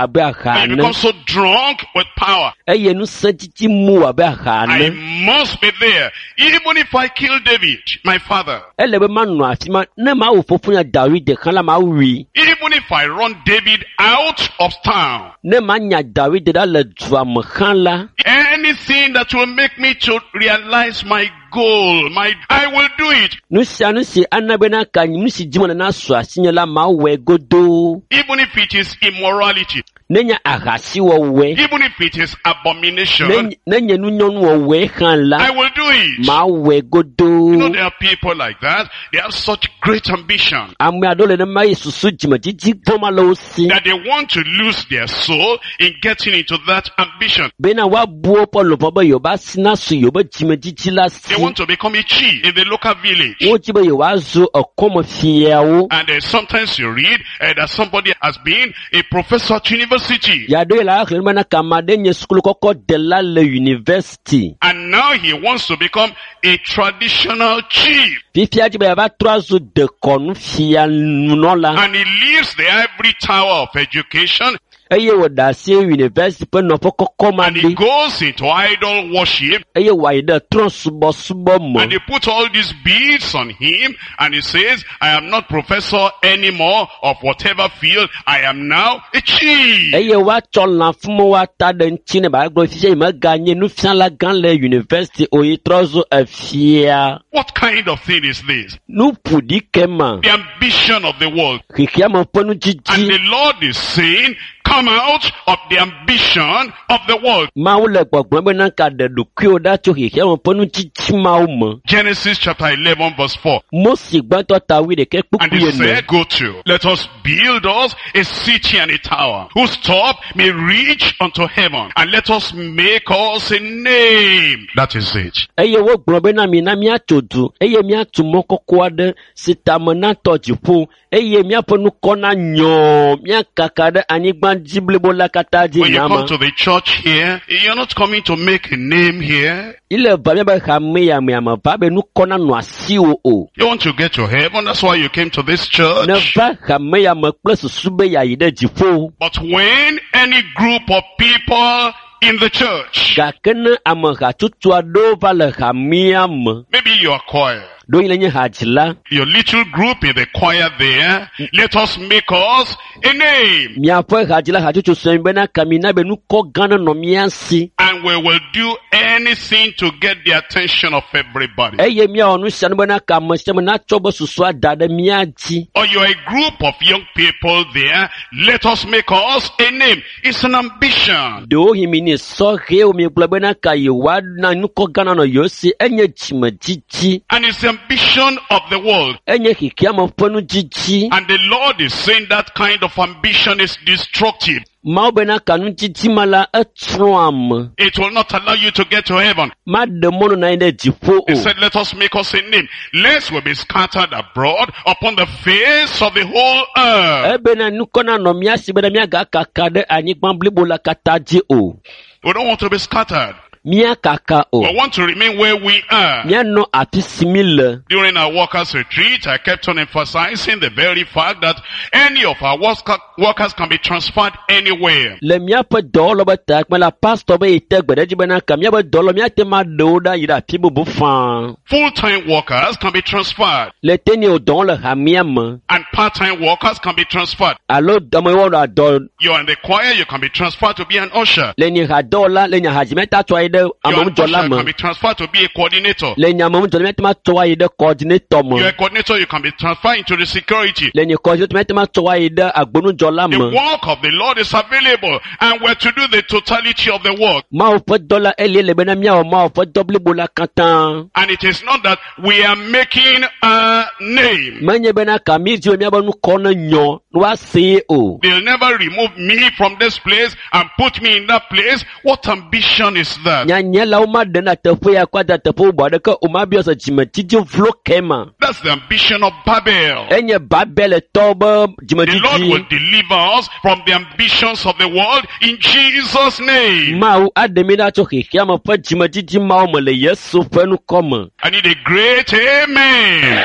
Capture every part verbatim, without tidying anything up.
abe aha And you ene become so drunk with power. eye ŋusẽ mu wò abe aha I ene must be there. Even if I kill David, my father. ele be manɔ afi ma ne mawu fofonya David hã la mawui Even if I run David out of town. ne manya David ɖa le dua me hã la Anything that will make me to realize my goal, my, I will do it. nu sia nu si ana bena ka nu si dzim le nasu asinye la mawɔe godoo Even if it is immorality. nenye ahasiwɔwɔe Even if it is abomination. ne nenye nunyɔnuwɔwɔe hã I la will do it. mawɔe You know, godoo there are people like that. They have such great ambition ame aɖewo le nema eye susu dzimedzidzi gbɔma le wo si that they want to lose their soul in getting into that ambition. bena woabu woƒe luʋɔ be yewobe asi nasu yewobe dzimedzidzi la si They want to become a chief in the local village. wodzi be yewoazu ekɔmefiawo And uh, sometimes you read uh, that somebody has been a professor at university. yaɖo le axlẽ bena kame aɖe nye sukulu kɔkɔ dela le yunivɛsiti And now he wants to become a traditional chief. fifia dzi be yeava trɔ azu dekɔnufia nunɔla And he leaves the ivory tower of education eye wòɖe asi yunivɛsiti ƒe nɔƒe kɔkɔ ma and he ɖi goes into idol worship eye wòayi ɖe trɔ̃subɔsubɔ me and they put all these beads on him and he says, I am not professor anymore of whatever field. I am now a chief. eye woatsɔ lãfumewo ata ɖe ŋuti ne bagblɔ fifia yi meganye nufiala gã le yunivɛsiti o yi trɔ zu efia What kind of thing is this? nu ƒo ɖi ke ma The ambition of the world. xexeame ƒe And nudzidzi the Lord is saying, come out of the ambition of the world. mawu le gbɔgblɔm bena ka ɖe ɖokuiwò ɖa tso xexeame ƒe nudzidzi mawo me Genesis chapter eleven verse four. Mose gbãtɔ ta wuiɖekɛ And kpukpui he ene said, go to, let us build us a city and a tower, whose top may reach unto heaven, and let us make us a name. That is it. eye wogblɔ bena mina míatso du eye míatu mɔ kɔkɔ aɖe si tame natɔ dziƒo eye míaƒe nukɔ nanyɔ míakaka ɖe anyigba dzi blibo la katã dzi When you nyama come to the church here, you're not coming to make a name here. ile va míabe hame ya me ame va be nukɔ nanɔ asiwò o You want to get to heaven, that's why you came to this church. ne va hame ya me kple susu be yeayi ɖe dziƒo But when any group of people in the church, gake ne ame hatsotso aɖewo va le hamea me maybe you are choir, ɖewohĩ le nye hadzila your little group in the choir there, let us make us a name. miaƒe hadzila hatsotso sue bena kamina be nukɔ gã nenɔ mía si And we will do anything to get the attention of everybody. eye míawɔ nu sia nu bena ka ame sia ame natsɔ be susua da ɖe mía dzi Or you're a group of young people there, let us make us a name. It's an ambition. ɖewohĩ mi ni sɔhɛwo miegblɔ bena ka yewoana nukɔ gã nanɔ yewo si enye dzimedzidzi And it's the ambition of the world. enye xexeame ƒe nudzidzi And the Lord is saying that kind of ambition is destructive. mawu bena ka nudzidzi ma la etsrɔ̃ ame It will not allow you to get to heaven. maɖe mɔnu na anyi ɖe dziƒo He o said, let us make us a name, lest we be scattered abroad upon the face of the whole earth. ebena nukɔ nanɔ mía si bena míagakaka ɖe anyigba blibo la katã dzi o We don't want to be scattered. míakaka o We want to remain where we are. míanɔ afi si mi le During our workers retreat, I kept on emphasizing the very fact that any of our work- workers can be transferred anywhere. le míaƒe dɔwɔlɔ be takpe la pastor be yi te gbe ɖe edzi bena ka míaƒe dɔwɔlɔ míate ŋu aɖe wo ɖa yi ɖe afi bubu faa Full-time workers can be transferred le te ne wo dɔwɔm le hamea me and part-time workers can be transferred. alo ame yiwo wɔna dɔ You're in the choir, you can be transferred to be an usher. le nye hadɔwɔla le nye hadzimeta tsɔ ayi ɖe You're an ameŋudzɔla usher, me can be transferred to be a coordinator. le nye ameŋudzɔla míate ŋu atsɔ ayi ɖe coordinator You're me a coordinator, you can be transferred into the security. le nye coordinator míate ŋu atsɔ ayi ɖe agbonudzɔla The me work of the Lord is available and we're to do the totality of the work. Mawu ƒe dɔ la elie le bena míawɔ Mawu ƒe dɔ blibo la katã And it is not that we are making a name. menye bena ka mi dzi be míabe nukɔ ne nyɔ ne woasee o They'll never remove me from this place and put me in that place. What ambition is that? nyanyalawo maɖe na teƒe ya kɔ ada teƒe bubu aɖeke o mabiɔ se dzimedzidzi vlo ke ma That's the ambition of Babel. enye Babeletɔwo be The Lord dzimedzidzi will deliver us from the ambitions of the world in Jesus' name. Mawu aɖe mi ɖa tso xexeame ƒe dzimedzidzi mawo me le Yesu ƒe ŋkɔ me I need a great amen.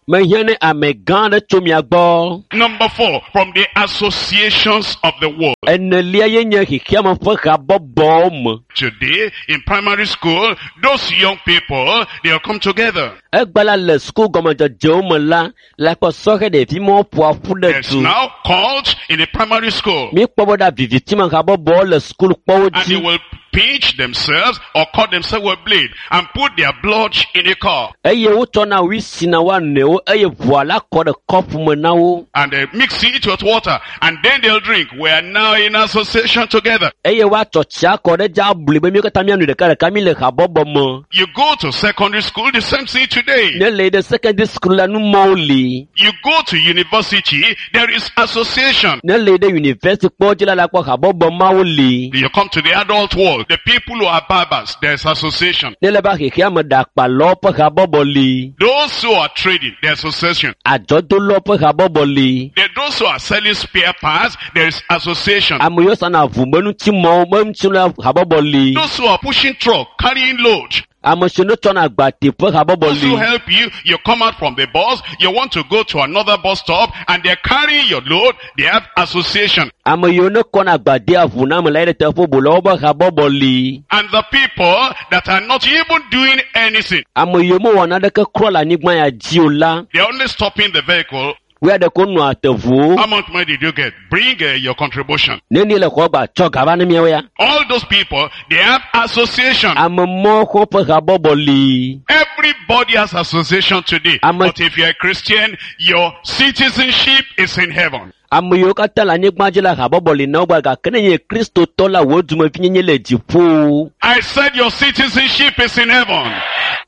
Mehiã ne ame gã aɖe tso mia gbɔ. Number four, from the associations of the world. Enelia ye nye xexeame ƒe habɔbɔwo me. Today, in primary school, those young people, they'll come together. Egbe la le suku gɔmedzedzewo me la, le akpɔ sɔhɛ ɖevimewo ƒoa ƒu ɖe There's du. now cult in the primary school. Míekpɔ be ɖa vivitime habɔbɔwo le sukulukpɔwo And they dzi will pinch themselves or cut themselves with blade and put their blood in a cup. eye wotsɔna wisi na woa nɔewo eye ʋua la kɔ ɖe kɔpu me na wo And they mix it with water and then they'll drink. We are now in association together. eye woatsɔ tsia kɔ ɖe dzi abli be míwo katã míanoe ɖekaɖeka mi le habɔbɔ me. You go to secondary school, the same thing today. Ne le yi ɖe secondary school la numɔwo li. You go to university, there is association. Ne le yi ɖe university kpɔ dzi la la kpɔ habɔbɔ mawo li. You come to the adult world, the people who are barbers, there's association. Ne le va xexeame ɖakpalawo ƒe habɔbɔ li. Those who are trading, there's association. Adzɔdolawo ƒe habɔbɔ li. There those who are selling spare parts, there is association. Ame yiwo sana ʋu me ŋutimɔwo me ŋuti la habɔbɔ li. Those who are pushing truck, carrying load, Ame siwo ne tsɔna agbate ƒe habɔbɔ those who li. help you, you come out from the bus, you want to go to another bus stop, and they're carrying your load, they have association. Ame yiwo ne kɔna agbadea ʋu na ame la yi ɖe teƒe bubu la woƒe habɔbɔ li. And the people that are not even doing anything, Ame yiwo mewɔ naneke kura le anyigba ya dzi o la, they're only stopping the vehicle. woya ɖeko nɔa te ʋuwo. How much money did you get? Bring uh, your contribution. Nenie le xɔ gba tsɔ gava ne miawo ya. All those people, they have association. Ame mɔwo ƒe habɔbɔ li. Everybody has association today. I'm a- But if you're a Christian, your citizenship is in heaven. Ame yiwo katã le anyigba dzi la habɔbɔ li na wo gba gake ne nye kristotɔ la wo dumevinyenye le dziƒo. I said your citizenship is in heaven.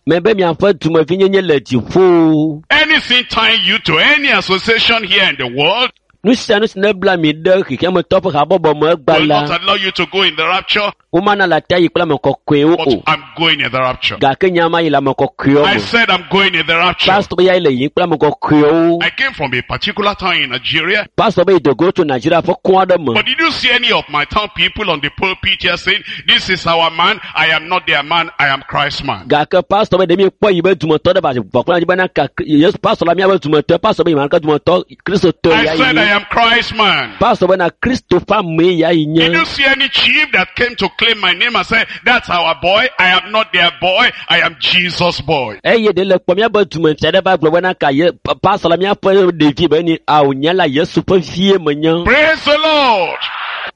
Mebe miaƒe dumevinyenye le dziƒo. Anything tying you to any association here in the world Nu sia nu si ne bla mi ɖe xexeametɔ ƒe habɔbɔ me egba will la, not allow you to go in the rapture, womana le ate ayi kple ame kɔkɔewo but o. I'm going in the rapture. Gake nye ama yi le ame kɔkɔewo I me. said I'm going in the rapture. Pastor be ya yi le yiyim kple ame kɔkɔewo. I came from a particular town in Nigeria, Pastor be yi dogo tso Nigeria ƒe kɔn aɖe me. but did you see any of my town people on the pulpit here saying, this is our man, I am not their man, I am Christ's man. Gake pastor be ɖe mi kpɔ yi be dumetɔ ɖe va vɔkplɔ dzi bena ka Yesu pastor la miabe dumetɔ pastor be yi ma ke dumetɔ kristotɔ I ya said yi I nye. am Christ's man. Pastor bena Kristo ƒe amee ya yi Did nye. you see any chief that came to claim my name and said, that's our boy, I am not their boy, I am Jesus' boy. Eye ɖe le kpɔ miabe dumefia ɖe va gblɔ bena ka ye pa- pastor la miaƒe ɖevi be ni awo nye la Yesu ƒe vie menye. Praise the Lord.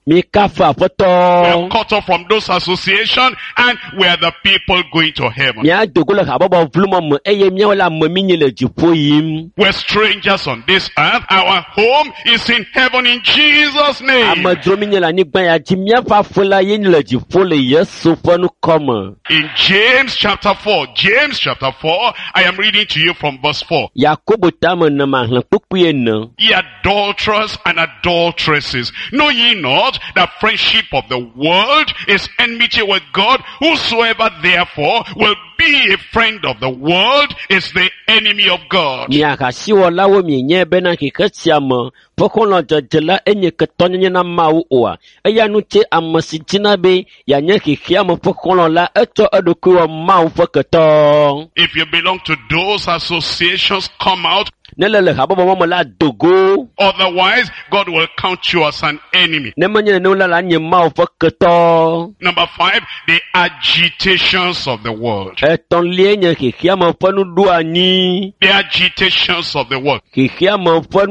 Mi kafu We are aƒetɔ. cut off from those associations and we are the people going to heaven. Mía dogo le habɔbɔ vlumɔ me eye míawo le ame mi nye le dziƒo yim. We're strangers on this earth. Our home is in heaven in Jesus' name. Amedzro mi nye le anyigba ya dzi míaƒe aƒe la ye le dziƒo le Yesu ƒe ŋkɔ me. In James chapter four, James chapter four, I am reading to you from verse four. Yakobo tame ne mahlẽ kpukpui ene. Ye adulterers and adulteresses, know ye not that friendship of the world is enmity with God? Whosoever therefore will be a friend of the world is the enemy of God. Mi ahasiwɔlawo mienye bena xexe sia me ƒe xɔlɔ̃dzedze la enye ketɔnyenye na Mawu oa? Eya ŋuti ame si dzina be yeanye xexea me ƒe xɔlɔ̃ la etsɔ eɖokui wɔ Mawu ƒe ketɔ. If you belong to those associations, come out. Ne le le habɔbɔ ma me la dogo. Otherwise, God will count you as an enemy. Ne menye nenem la la nye Mawu ƒe ketɔ. Number five, the agitations of the world. Etɔ̃liae nye xexea me ƒe nuɖoanyi. The agitations of the world. Xexea me ƒe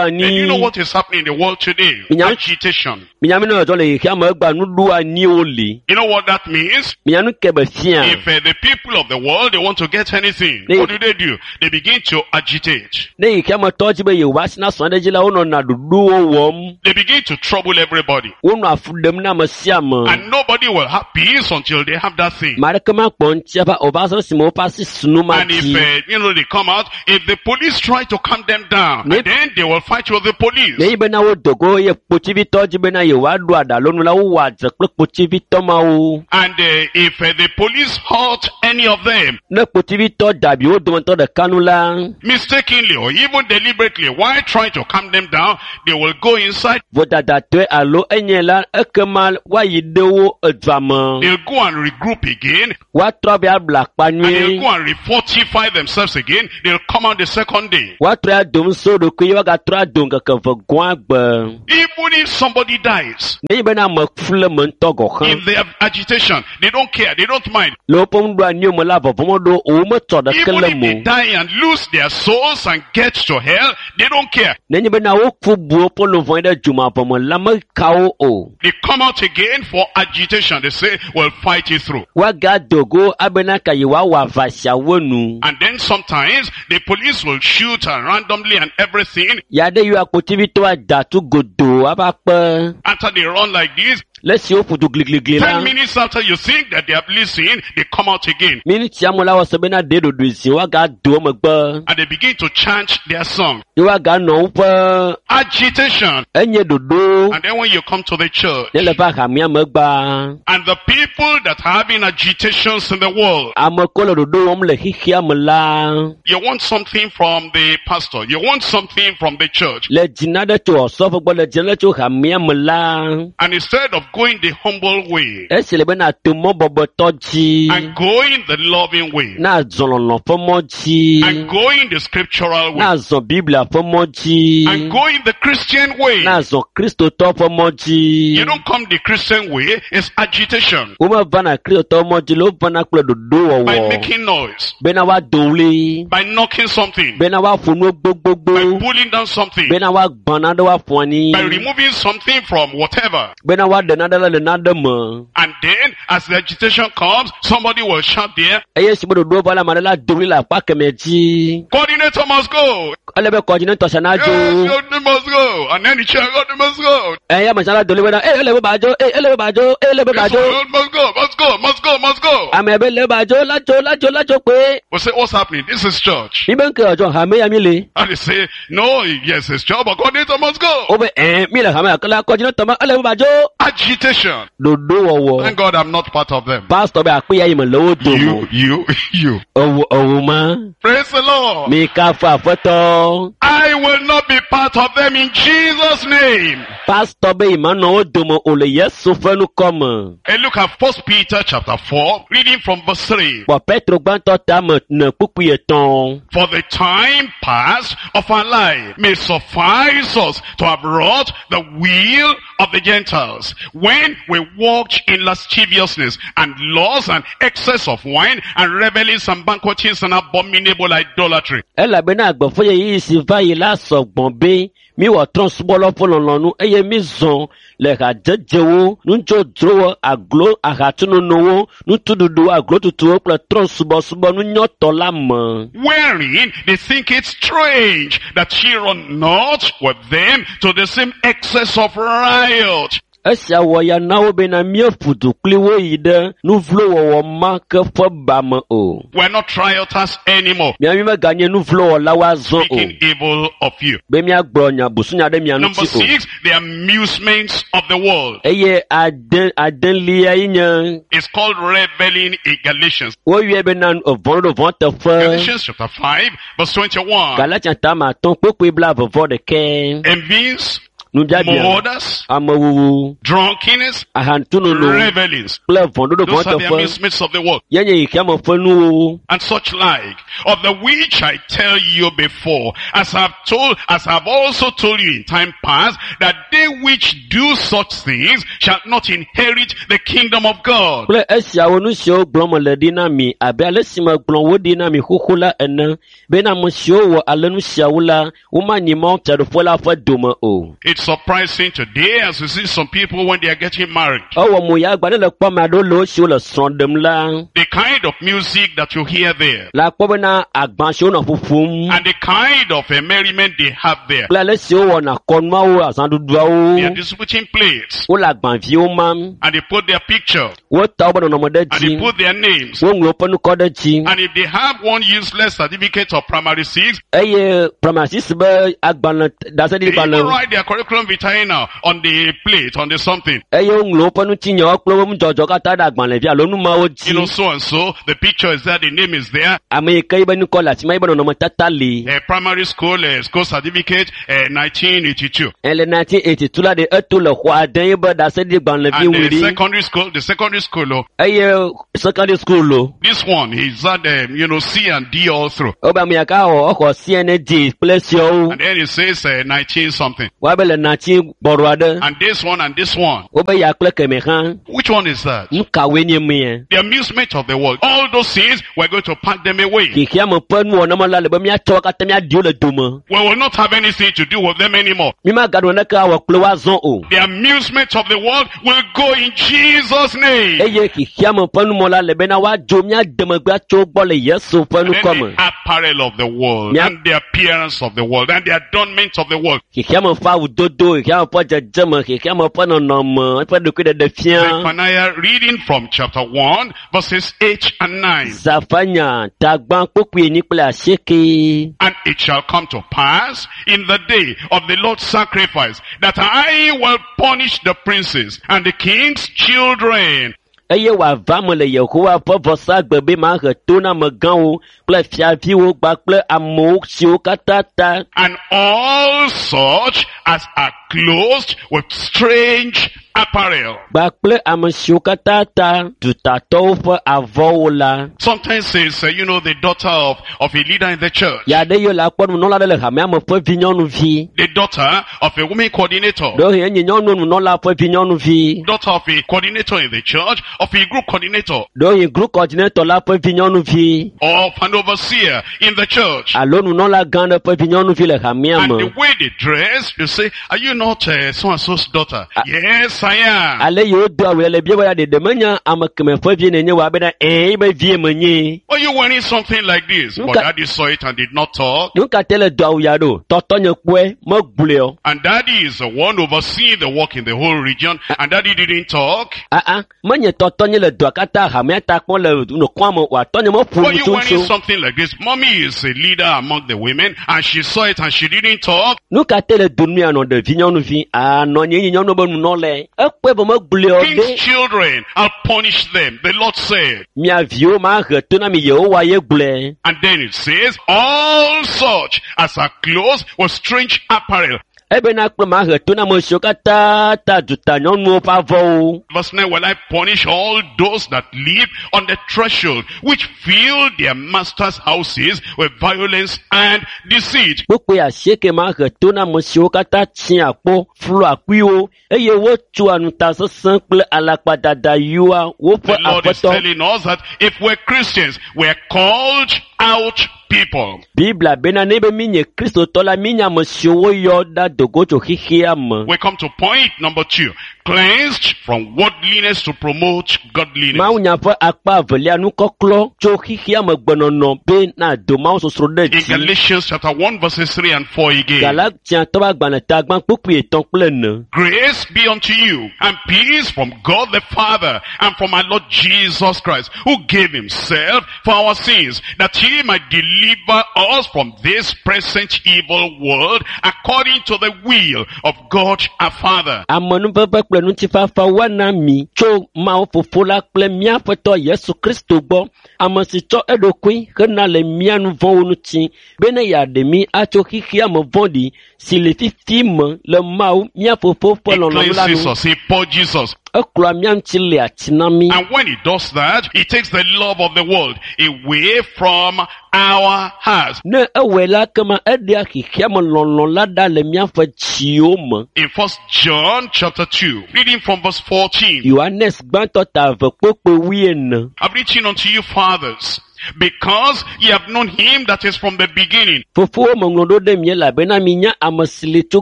And you know nuɖoanyi. what is happening in the world today? Yeah. Agitation. Minya mi ne dzɔ le xexea me egbea nuɖoanyiwo li. You know what that means? Minya nu ke be fia. If uh, the people of the world, they want to get anything, They- what do they do? They begin to agitate. Ne xexea me tɔ dzi be yewoasi na sɔ̃ ɖe dzi la, wonɔna ɖoɖowo wɔm. They begin to trouble everybody. Wonɔ afu ɖem na ame sia ame. And nobody will have peace until they have that thing. Ame aɖeke makpɔ ŋuti ava o va se ɖe esime woƒe asi su nu ma And if, dzi. uh, you know, they come out, if the police try to calm them down, Ne- then they will fight with the police. Ne yi bena wodo go eye kpotsivitɔ dzi bena yewoaɖo aɖalonu la, wowɔa dze kple kpotsivitɔ mawo. And uh, if uh, the police hurt any of them, Ne kpotsivitɔ dabi wo dometɔ ɖeka nu la, mistakenly or or even deliberately, while trying to calm them down, they will go inside, Vodadatɔe alo enye la ekema woayi ɖe wo edua me. they'll go and regroup again, Woatrɔ be abla akpa and they'll nyuie. go and refortify themselves again. They'll come out the second day. Woatrɔ ado ŋusẽ wo ɖokui ye woagatrɔ ado ŋkeke eve gɔ̃a gbe. Even if somebody dies, Nenye bena ame ku le me ŋutɔ gɔ̃ hã in their agitation, they don't care, they don't mind. le woƒe nuɖoanyiwo me la vɔvɔ̃ meɖo o wometsɔ ɖeke Even le if me they o. die and lose their souls and get to hell, they don't care. Nenye bena woku bu woƒe luʋɔ ɖe dzomavɔ me la meka wo o. They come out again for agitation. They say, we'll fight it through. Woagado go abena ka yewoawɔ aʋa siawo nu. And then sometimes the police will shoot and randomly and everything. Ya ɖe yiwo akpotivitɔ ada tu godoo ava kpe. After they run like this, Le esi woƒo du gligligli la, ten minutes after you think that they have listened, they come out again. miniti ame la wɔ se bena ɖe ɖoɖoe zi woagado emegbe And they begin to chant their song. ye woaganɔ woƒe Agitation. enye ɖoɖo And then when you come to the church, ne le va hamea megbea, and the people that are having agitations in the world, ame kewo le ɖoɖo wɔm le xexea me la you want something from the pastor, you want something from the church. le dzina ɖe tso ɔsɔƒe gbɔ le dzina ɖe tso hamea me la And instead of going the humble way esi le bena to mɔ bɔbɔtɔ dzi and going the loving way na zɔ lɔlɔ ƒe mɔ dzi and going the scriptural way na zɔ Biblia ƒe mɔ dzi and going the Christian way, na zɔ Kristotɔ ƒe mɔ dzi. you don't come the Christian way, it's agitation Womevana Kristotɔ mɔ dzi le wovana kple by ɖoɖowɔwɔ making noise, bena woado ɣli by knocking something, bena woaƒo nuwo gbogbogbò by pulling down something, bena woagbã nane woaƒo anyi by removing something from whatever. bena woaɖe nane le nane me. And then, as the agitation comes, somebody will shout there, Eye esi be ɖoɖowo va la, ame aɖe la do ɣli le akpa kemɛ dzi. coordinator must go. Ele be kɔdzinetɔ sia nadzo. Yes, you must go. And then the chair, God must go. Eye ame sia la do ɣli bena, "Ee, ele be badzo, ee, ele be badzo, ee, ele be This badzo." one must go, must go, must go, must go. Ame be le badzo, ladzo, ladzo, ladzo kpe. We say, what's happening? This is church. Mi be ŋke ɔdzɔ hame ya mi le. And they say, no, yes, it's church, but coordinator must go. Wobe ɛɛ, mi le hame ya ke la kɔdzinetɔ ma, ele be badzo. Agitation. Ɖoɖowɔwɔ. Thank God I'm not part of them. Pastor be akpe ya yi me le wo dome. You, you, you. Ewo ewo ma. Praise the Lord. Mi kafu aƒetɔ. I will not be part of them in Jesus' name. Pastor be yi ma nɔ wo dome o le Yesu ƒe ŋkɔ me. And look at First Peter chapter four, reading from verse three. Kpɔ Petro gbãtɔ tame ne kpukpui etɔ̃. For the time past of our life may suffice us to have wrought the will of the Gentiles, when we walked in lasciviousness and lust and excess of wine and revelings and banquetings and abominable idolatry. Elabena agbe ƒe ɣeyiɣi si va yi la sɔgbɔ be miwɔ trɔ̃subɔlawo ƒe lɔlɔ̃nu eye mizɔ le hadzedzewo, nudzodzrowo, aglo ahatsunonowo, nutuɖuɖuwo, aglotutuwo kple trɔ̃subɔsubɔ nunyɔtɔ la me. Wherein they think it strange that she run not with them to the same excess of riot. Esia wɔ ya na wo bena míeƒu du kpli wo yi ɖe nuvlowɔwɔ ma ke ƒe ba me o. We're not rioters anymore, Mía mi meganye nuvlowɔlawo azɔ o speaking evil of you. be míagblɔ nya busunya ɖe mia Number ŋuti o. six, the amusements of the world. Eye ade adelia yi nye It's called reveling in Galatians. woyɔe bena vɔ̃ ɖo vɔ̃ teƒe. Galatians chapter five, verse twenty-one. Galatia tame atɔ̃ kpukpui blaeve vɔ ɖekɛ. Envies, Nubiabia, murders, amewuwu, drunkenness, ahatsunono revelings. kple vɔ̃ɖoɖo vɔ̃ Those are the teƒe amusements of the world. ye nye xexeame ƒe nuwo. And such like, of the which I tell you before, as I've told, as I've also told you in time past, that they which do such things shall not inherit the kingdom of God. Kple esiawo nu siwo gblɔm mele ɖi na mi abe ale si megblɔ wo ɖi na mi xoxo la ene bena ame siwo wɔ ale nu siawo la womanyi Mawu fiaɖuƒe la ƒe dome o. It's surprising today as you see some people when they are getting married. Ewɔ mo ya agba ne le kpɔ ame aɖewo le wo siwo le srɔ̃ ɖem la The kind of music that you hear there la kpɔ bena agba siwo nɔ ƒoƒom and the kind of a merriment they have there. kple ale si wowɔna kɔnuawo They are azãɖuɖuawo distributing plates wole agbaviwo mam and they put their picture wota woƒe nɔnɔme ɖe and dzi they put their names. woŋlɔ woƒe ŋkɔ ɖe dzi And if they have one useless certificate of primary six, eye pramasisi be agbalẽ they ɖaseɖiɖigbalẽ even write their curriculum curriculum vitae now on the plate, on the something. Eye woŋlɔ woƒe ŋutinyawo kple woƒe nudzɔdzɔ katã ɖe agbalẽvi alo numawo You know, dzi. so and so, the picture is there, the name is there. Ame yi ke yibe ŋkɔ le afi ma, yibe nɔnɔmetata li. Uh, primary school, uh, school certificate, uh, nineteen eighty-two. Ele nineteen eighty two la ɖe eto le xɔ ade yibe ɖaseɖi gbalẽvi And ŋu the ɖi. secondary school, the secondary school, oh, Eye secondary school lo. this one, he's had, um, you know, C and D all through. Wobe ame ya ka xɔ exɔ C N D kple siawo. And then it says uh, nineteen something. Woabe le nineteen gbɔɖɔ aɖe. And this one and this one. Wobe ya kple keme hã. Which one is that? Nu kawoe nye mea? The amusement of the world. All those things, we're going to pack them away. Xexeame ƒe nuwɔname la le be míatsɔ wo katã míaɖi wo le dome. We will not have anything to do with them anymore. Mímagaɖo naneke awɔ kple wo azɔ o. The amusement of the world will go in Jesus' name. Eye xexeame ƒe numɔ la le bena woadzo mía demegbe atso wo gbɔ le Yesu ƒe Then ŋkɔme. the apparel of the world, Yeah. and the appearance of the world, and the adornment of the world. Xexeame ƒe awudodo, xexeame ƒe dzedzeme, xexeame ƒe nɔnɔme, eƒe ɖokuiɖeɖe fia. Zephaniah reading from chapter one, verses eight and nine. Zafanya tagbã kpokpui enyi kple asieke. And it shall come to pass in the day of the Lord's sacrifice that I will punish the princes and the king's children. Eye wòava me le Yehowa ƒe vɔsagbe be mahe to na amegãwo kple fiaviwo kpakple amewo siwo katã ta And all such as are clothed with strange apparel. kpakple ame siwo katã ta dutatɔwo ƒe avɔwo la. Sometimes it's, uh, you know, the daughter of, of a leader in the church. Ya ɖe yiwo le akpɔ nunɔla ɖe le hamea me ƒe vinyɔnuvi. The daughter of a woman coordinator. Ɖewohĩ enye nyɔnu nunɔla ƒe vinyɔnuvi. Daughter of a coordinator in the church, of a group coordinator, Ɖewohĩ group coordinator la ƒe vinyɔnuvi. of an overseer in the church. Alo nunɔla gã ɖe ƒe vinyɔnuvi le hamea And me. the way they dress, you say, are you not uh, so-and-so's daughter? Yes, I am. Ale yiwo do awu le bia be ya ɖeɖe menya ame keme ƒe vie nenye wɔ abena ɛɛ yibe vie menye. Why are you wearing something like this? But Nka- daddy saw it and did not talk. Nu ka te le do awu ya ɖo? Tɔtɔ nye kpɔe megblɔe o. And daddy is the one overseeing the work in the whole region. And daddy didn't talk. Aa menye tɔtɔ nye le doa katã hamea ta kpɔm le nukua me o. Atɔ nye meƒo Why are nu you wearing tso. something like this? Mommy is a leader among the women and she saw it and she didn't talk. Nu ka te le do nu ya nɔ ɖevi nyɔnuvi? Anɔ nye nye nyɔnu be nunɔlae. Ekpɔe be megblɔe o King's ɖe. children, I'll punish them, the Lord said. Mia viwo mahe to na mi Yehowa ye gblɔe. And then it says, all such as are clothed with strange apparel. Ebena kple mahe to na ame siwo katã ta duta nyɔnuwo ƒe avɔwo. Verse nine, will I punish all those that live on the threshold, which fill their masters' houses with violence and deceit. Kpukpui asieke mahe to na ame siwo katã tsia kpɔ, flu akuiwo eye wotsɔa ŋutasesẽ kple alakpadada yɔa woƒe The Lord is aƒetɔ. telling us that if we're Christians, we're called out people. Biblia bena ne be mi nye Kristotɔ la, mi nye ame siwo woyɔ ɖa dogo tso xexea me. We come to point number two. Cleansed from worldliness to promote godliness. Mawunya ƒe akpa evelia nukɔklɔ tso xexea me gbenɔnɔ be na do Mawu sosro ɖe In dzi. Galatians chapter one verses three and four again. Galatiatɔwo ƒe agbalẽ ta gbã kpukpui etɔ̃ kple ene. Grace be unto you and peace from God the Father and from our Lord Jesus Christ, who gave himself for our sins, that he might deliver us from this present evil world according to the will of God our Father. Amenuveve kple ŋutifafa woana mi tso Mawu Fofo la kple mía Aƒetɔ Yesu Kristo gbɔ, ame si tsɔ eɖokui hena le mía nu vɔ̃wo ŋuti, bene yeaɖe mí atso xexea me vɔ̃ɖi si le fifi me le Mawu mía Fofo ƒe He lɔlɔ̃nu la cleanses nu. us, he purges us. Eklɔa mía ŋuti le ati na mí. And when he does that, he takes the love of the world away from our hearts. Ne ewɔe la kema eɖea xexea me lɔlɔ̃ la ɖa le míaƒe dziwo me. In First John chapter two, reading from verse fourteen. Yohanes gbãtɔ ta eve kpokpoe wuiene. I've written unto you fathers, because ye have known him that is from the beginning. Fofowo meŋlɔ ɖo ɖe mi elabena minya ame si li tso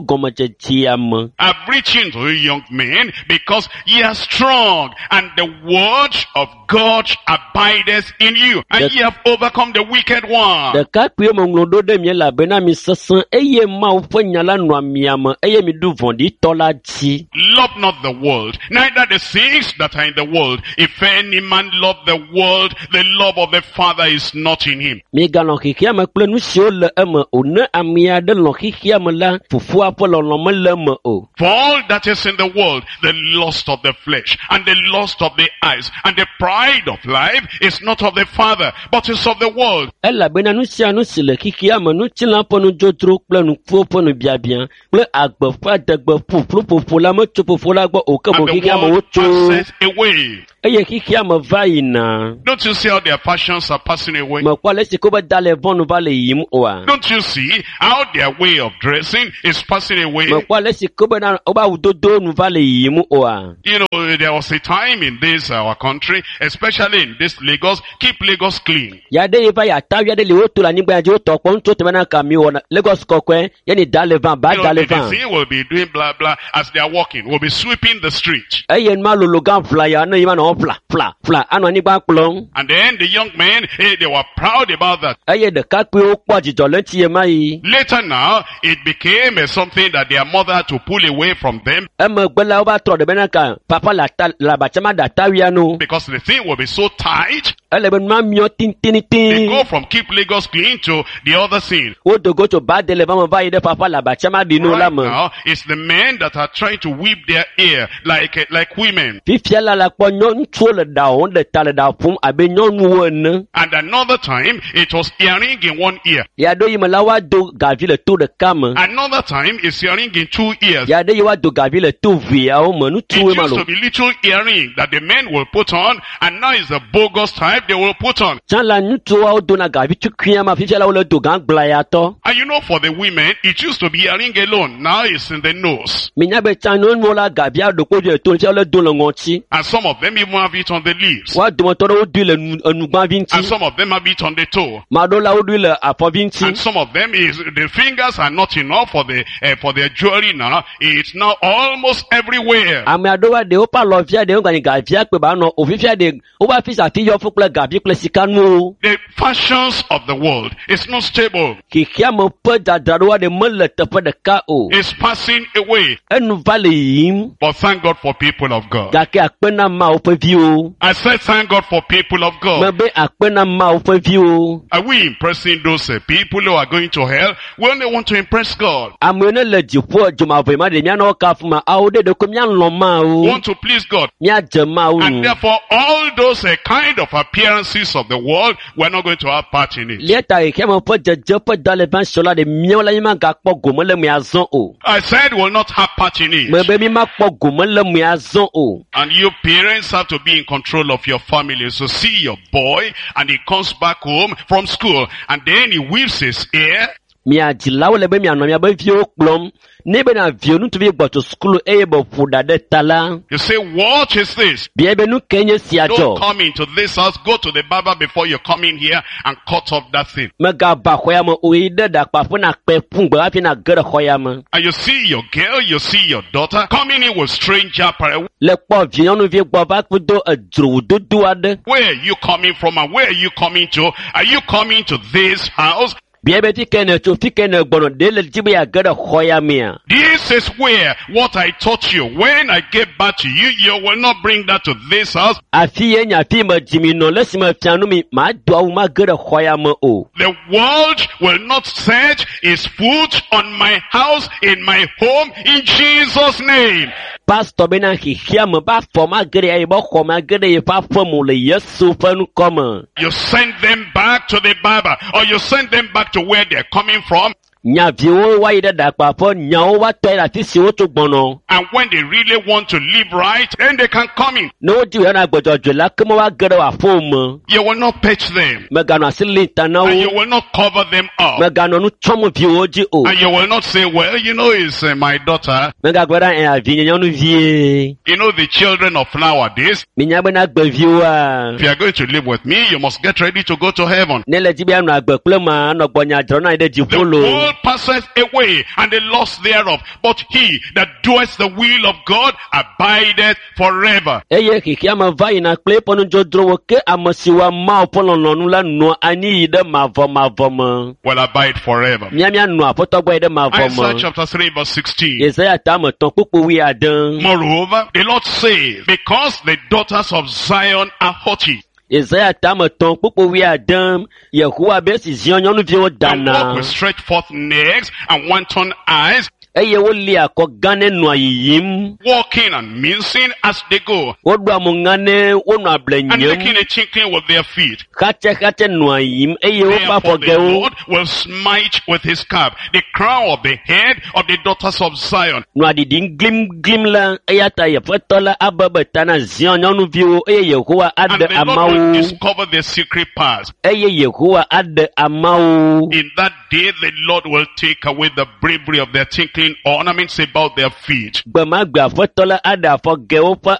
gɔmedzedzea me. I've written to you young men, because ye are strong, and the word of God abideth in you, and That- ye have overcome the wicked one. Ɖekakpuiwo meŋlɔ ɖo ɖe mi elabena mi sesẽ eye Mawu ƒe nya la nɔa mia me eye miɖu vɔ̃ɖitɔ la dzi. Love not the world, neither the things that are in the world. If any man love the world, the love of the Father Father is not in him. Migalɔ̃ xexea me kple nu siwo le eme o. Ne ame aɖe lɔ̃ xexea me la, fofoa ƒe lɔlɔ̃ mele eme o. For all that is in the world, the lust of the flesh and the lust of the eyes and the pride of life is not of the Father, but is of the world. Elabena nu sia nu si le xexea me, ŋutilã ƒe nudzodzro kple nukuwo ƒe nubiabia kple agbe ƒe adegbe ƒuƒlu ƒoƒo la metso fofo la gbɔ o ke boŋ And the xexea me world wotso passeth away. eye xexea me va yina. Don't you see how their fashions are passing away? Mekpɔ ale si ko be da le vɔnu va le yiyim oa? Don't you see how their way of dressing is passing away? Mekpɔ ale si ko bena wobe awudodo nu va le yiyim oa? You know, there was a time in this our country, especially in this Lagos, keep Lagos clean. Ya ɖe yi va yi atavi aɖe li woto le anyigba ya dzi wotɔ kpɔ ŋutsu teme na ka mi wɔna Lagos kɔkɔe yeni da le vã ba You da know, le the vã. disease will be doing blah blah as they are walking, will be sweeping the street. Eye nua lolo gã ʋla ya ne yi ma nɔ ʋla ʋla ʋla anɔ anyigba kplɔm. And then the young men, eh, they were proud about that. Eye ɖekakpuiwo kpɔ dzidzɔ le ŋuti ɣe ma ɣi. Later now, it became eh, something that their mother had to pull away from them Emegbe la wova trɔ ɖe bena ka papa le ata le abatsama ɖe atawia nu. because the thing will be so tight. Ele be nua miɔ They tititi. go from keep Lagos clean to the other thing. Wodo go tso ba de le va me va yi ɖe papa le abatsama ɖi nu la Right me. now, it's the men that are trying to whip their ear like, eh, like women. Fifia la la kpɔ nyɔ ŋutsuwo le ɖa wɔm ɖe ta le ɖa ƒom abe nyɔnuwo ene. And another time, it was earring in one ear. Ya ɖo yi me la woado gavi le to ɖeka me. Another time, it's earring in two ears. Ya ɖe yi woado gavi le to veawo me. It Ŋutsuwoe ma used lo. to be little earring that the men will put on, and now it's a bogus type they will put on. Tsã la ŋutsuwo dona gavi tukuia ma fifia la wole do gã gblayatɔ. And you know, for the women, it used to be earring alone. Now it's in the nose. Minya be tsã nyɔnuwo la gavia ɖo kpo le to fifia wole do le ŋɔtsi. And some of them even have it on the lips. Woa dometɔ ɖewo doe le nu enugbãvi And ŋuti. some of them have it on the toe. Ame aɖewo la woɖoe le afɔvi And ŋuti. some of them is the fingers are not enough for the uh, for their jewelry now. It's now almost everywhere. Ame aɖewoa ɖe woƒe alɔvia ɖe woganyi gavia kpe ba nɔ o fifia ɖe woƒe afi sia afi yɔ fũ kple gavi kple sikanuwo. The fashions of the world is not stable. Xexeame ƒe dzadzraɖoa ɖe mele teƒe ɖeka o. It's passing away. Enu va le yiyim But thank God for people of God. gake akpe na Mawu ƒe viwo. I said thank God for people of God. Mebe akpe na Mawu ƒe viwo. Are we impressing those uh, people who are going to hell? We only want to impress God. Amewo ne le dziƒo dzomavɔe ma ɖe míanɔ wo kafu ma awo ɖe ɖeko míalɔ̃ We Mawu. want to please God. Míadze Mawu And nu. therefore, all those uh, kind of appearances of the world, we're not going to have part in it. Lia ta xexeame ƒe dzedze ƒe da le va sɔ la ɖe míawo la mímagakpɔ gome le mea zɔ o. I said we'll not have part in it. Mebe mímakpɔ gome le mea zɔ o. And you parents have to be in control of your family. So see your boy and he comes back home from school and then he whips his ear Mia dzilawo le be mianɔ miabe viwo kplɔm. Ne bena viwo ŋutsuvi gbɔ tso sukulu eye be ƒo ɖa ɖe ta la, You say, what is this? bia be nu ke nye sia Don't dzɔ. come into this house. Go to the barber before you come in here and cut off that thing. Megava xɔ ya me o yi ɖe ɖakpaƒe na kpe ƒu gbe hafi na ge ɖe xɔ ya me. And you see your girl, you see your daughter coming in with strange apparel. Le kpɔ vi nyɔnuvi gbɔ va do edzrowudodo aɖe. Where are you coming from and where are you coming to? Are you coming to this house? Bia be fi ke ne tso fi ke ne gbɔnɔ ɖe le dzi be yeage ɖe xɔ ya mea. This is where what I taught you. When I get back to you, you will not bring that to this house. Afi ye nye afi me dzimi nɔ le esime fia nu mi mado awu mage ɖe xɔ ya me o. The world will not set its foot on my house, in my home, in Jesus' name. Pastor bena xexeame be afɔ mage ɖe yeƒe xɔ mage ɖe yeƒe aƒe me o le Yesu ƒe ŋkɔ me. You send them back to the barber or you send them back to where they're coming from. Nya viwo woayi ɖe ɖakpaƒe, nyawo woatɔ yi ɖe afi si wotso gbɔnɔ. And when they really want to live right, then they can come in. Ne wodi woana agbedzɔdzɔe la, ke me woage ɖe wò aƒewò me. You will not pet them Meganɔ asi lim ta na and you wo. will not cover them up. Meganɔ nu tsɔm viwo dzi o. And you will not say, well, you know, it's uh, my daughter. Megagblɔ ɖe ɛ avi nye nyɔnuvie. You know, the children of nowadays, Minya bena agbeviwoa. if you are going to live with me, you must get ready to go to heaven. Ne le dzi be anɔ agbe kple ma, anɔ gbɔnya dzrɔ na anyi ɖe The dziƒo loo. world passeth away and the lust thereof, but he that doeth the will of God abideth forever. Eye xexeame va yina kple eƒe nudzodzrowo ke ame si wɔa Mawu ƒe lɔlɔ̃nu la nɔa anyi yi ɖe mavɔmavɔ me. Will abide forever. Mía míanɔ aƒetɔ gbɔ yi ɖe mavɔ Isaiah me. chapter three verse sixteen. Yesaya tame etɔ̃ kpukpu wuiade. Moreover, the Lord says, because the daughters of Zion are haughty, Yesaya tame etɔ̃ kpukpu wuiade Yehowa be esi Zion nyɔnuviwo And dana walk with stretched forth necks and wanton eyes, eye wolia akɔ gã ne nɔa yiyim. walking and mincing as they go, Woɖoa mo ŋa ne wonɔ able and nyem. making a tinkling with their feet. Xatsɛxatsɛ nɔa yiyim eye woƒe Therefore the afɔgɛwo Lord will smite with his cap the crown of the head of the daughters of Zion, nɔa ɖiɖim glimglim la eya ta Aƒetɔ la abebe ta na Zion nyɔnuviwo eye Yehowa and aɖe the Lord will amawo discover their secret parts. eye Yehowa aɖe amawo. In that day the Lord will take away the bravery of their tinkling ornaments about their feet. Gbe ma gbe Aƒetɔ la aɖe afɔgɛwo ƒe